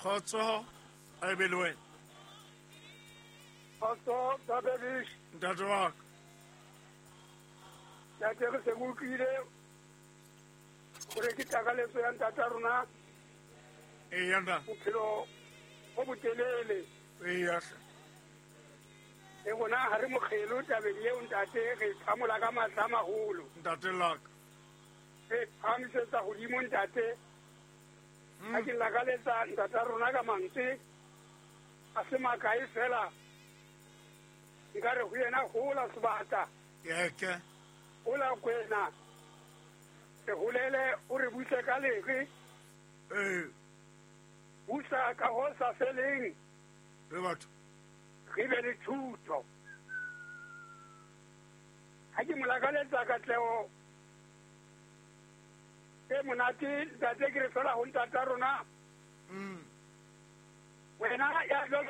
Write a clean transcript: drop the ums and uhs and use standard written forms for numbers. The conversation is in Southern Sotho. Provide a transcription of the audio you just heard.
Kgotso a e be le wena. Kgotso Babebish. Ntate wa ka. Ntate re se re utlwile gore ke takaletso ya ntata rona. Eya ntate. Bophelo bo botelele. Eya hle. Le rona ha re mokgelo tabeng eo ntate, re phamola ka matla a maholo. Ntate laka. Re phahamisetsa godimo ntate. Ha ke lakaletsa ntata rona ka mantswe a se makae fela, nka re ho yena hola sebata. Yeke. Hola kwena. Re holele o re buse ka lere. Ee. Busa ka ho sa feleng. Re batho. Re be le thuto. Ha ke mo lakaletsa katleho e monate ntate, ke re fela ho ntata rona. Wena ya jwalo